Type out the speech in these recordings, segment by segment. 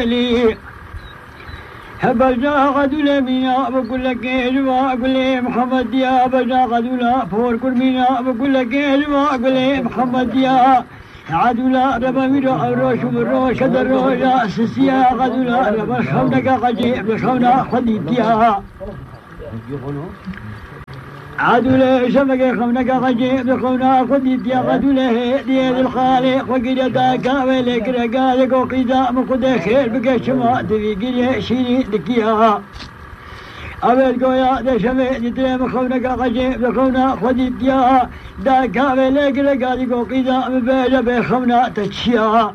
لي هبجا غدول مينا بقول لك اجوا اقول محمد يا بجا غدولا فور كل مينا بقول لك اجوا اقول محمد يا عدولا ربا ميرو روش وروش كدر يا سسيا غدولا ربا خونك قجيب بخونا خديتيا عدولا شبك خونك قجيب بخونا خديتيا غدولا ديال الخالق وقيل داكا ولك رقالك وقيدا مقود خير بك شما تبي قيل شيري دكيا أبد قويا دشمي دتريم خونك قجيب بخونا خديتيا داكا ولك رقالك وقيدا مباجا بخونا تشيا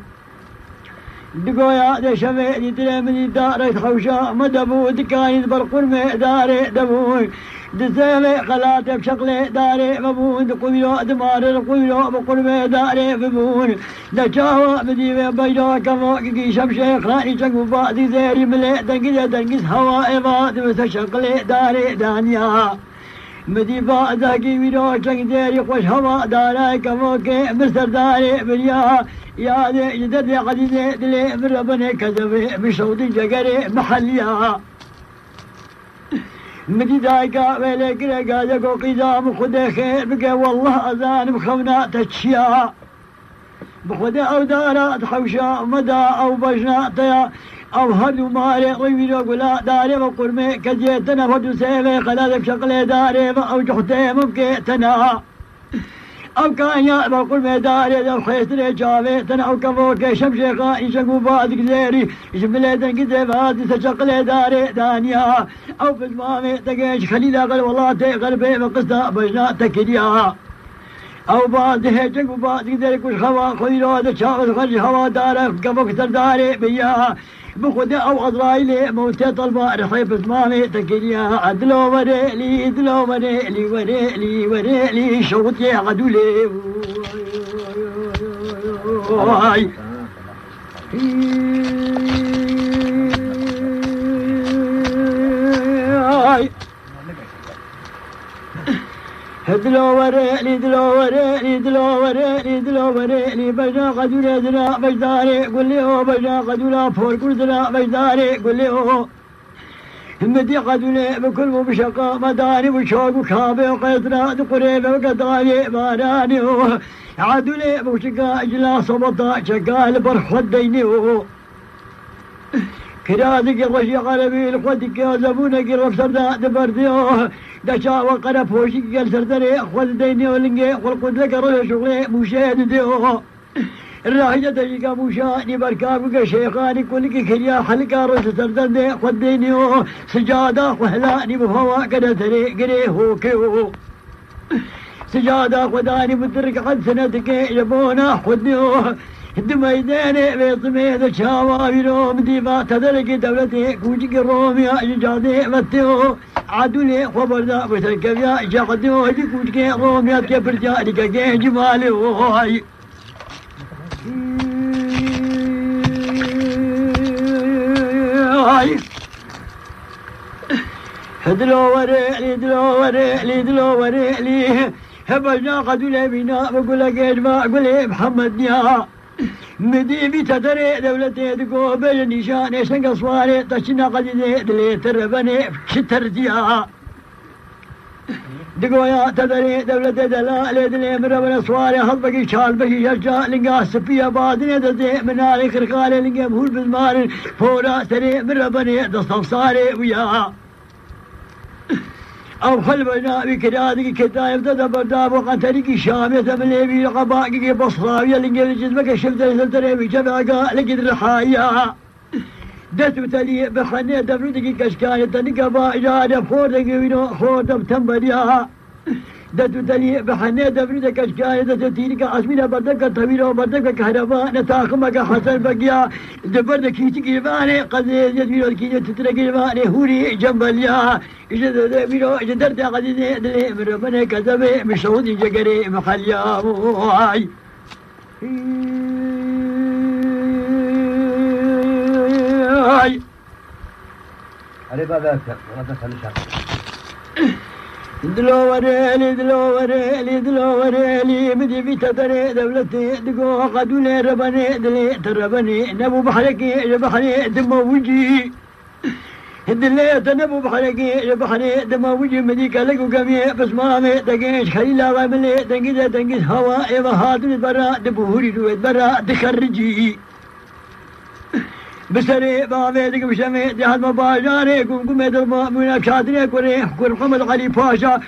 دقويا دشمي دتريم دارت خوشا مدبو دكاين بالقرمي داري دبوي دسالي خلاتي بشغلي داري ببون دقويلو دماري دقويلو بقرمي داري ببون دشاوى بديوي بيجو كموكي شمشي خاني شنقو بادي زيري ملي دنقز هوائي بادي بس شغلي داري دانيا مديفا ذاكي ويرو شنق زيري خوش هوا داري كموكي مستر داري بريا يا دي جدد يا قديدي دلي من ربني كذبي بشوطي جقري محليا مدي دايكا ويلك رقا يقو قيدام خده خير بقى والله أذان بخونا تشيا بخده أو دارات خوشا مدى أو بجناتيا أو هدو ماري غيبينو قلا داري وقرمي كجيتنا فدو سيبي خلالك شقلي داري أو جحتي ممكيتنا أو كان يأبا قرمي داري دو خيسري جاويتنا أو كفوكي شمشيخا يشقو بادك زيري يشملي دنقزي بادي سشقلي داري دانيا أو بزمامي تقيش خليلا قل والله تي قلبي بقصة بجنا تكريا أو بعد هيجك وبعد كذا كل خوا خيرو هذا شاغل خرج هوا دارك كفوك ترداري بيا بخد أو أضرايلي موتي طلبة رحيب اسمامي تكريا عدلو وريلي دلو وريلي وريلي وريلي شوطي عدولي واي دلو وريلي دلو وريلي دلو وريلي دلو وريلي بجا قدولا دلا بجداري قل لي هو بجا قدولا فور كل دلا بجداري قل لي هو همدي قدولا بكل مبشقة مداري وشوق وكابي وقيطرة قريبة وقدراني باراني هو عدولي بوشقا اجلا صبطا شقا البرخ وديني هو كرادك الرشي قلبي لخدك يا زبونك الرفسر دبرديو دشا وقرا فوشك قال سردري خل ديني ولنجي والقد لك رجل شغلي مشاهد ديو الراحجة تجيك مشاهدي بركابك شيخاني كلك كريا حلقا رجل سردري خل ديني سجادة وهلاني بفوا كده تري قري هوكيو سجادة خداني بترك قد سنتك يبونا خدنيو دميداني بيطمي ذا شاوابيرو مديفا تدرك دولتي كوجك الروميا جادي متيو عدولي خبر ذا بتركبيا شاقديو هدي كوجك الروميا كبرجا لك جمالي وهاي دلو وريلي دلو وريلي دلو وريلي هبجنا قدولي بينا بقول لك اجمع قولي محمد يا مديبي تدري دولتي دقو بالنشان شنق صواري تشنا قديدي دلي تربني شتر ديا دقو يا تدري دولتي دلالي دلي مربنا صواري هضبقي شال بشي يرجع لنقا سفيا بادني دزي منالي خرقالي لنقا بهول بالمارن فورا سري مربني دستفصاري ويا أو خلبنا بكرادك كتايب تدبر داب وقتلك شامية مليبي قباقك بصراوية لنقل جزمك شفت سلطري بشبعك لقد رحايا دتو تلي بخنية دفردك كشكاية تنقبا إجادة خورتك وينو خورتك بتنبريا دتو تلي بخنية دفردك كشكاية تتينك عصمينة بردك طويلة بردك كهرباء نتاخمك حسن بقيا دبردك كيتك يباني قذيز يدويلو كيتك تترك يباني هوري جنباليا جدرت قديدي دلي من ربنا كذبي مشهودي جقري محليا موعي علي بابك ولا تسأل دلوريلي دلوريلي دلوريلي بدي في تدري دولتي دقو قدولي ربني دلي تربني نبو بحركي بحري دم وجي دلي تنبو بحركي بحري دم وجي مديك لقو قمي بس مامي دقيش خليلا غاملي دنقيز هواء بهادر برا دبوري رويد برا دخرجي بسري بابي دق بشمي دي هاد مباجاري قم قم يدر مؤمنة شادري كوري كور محمد علي باشا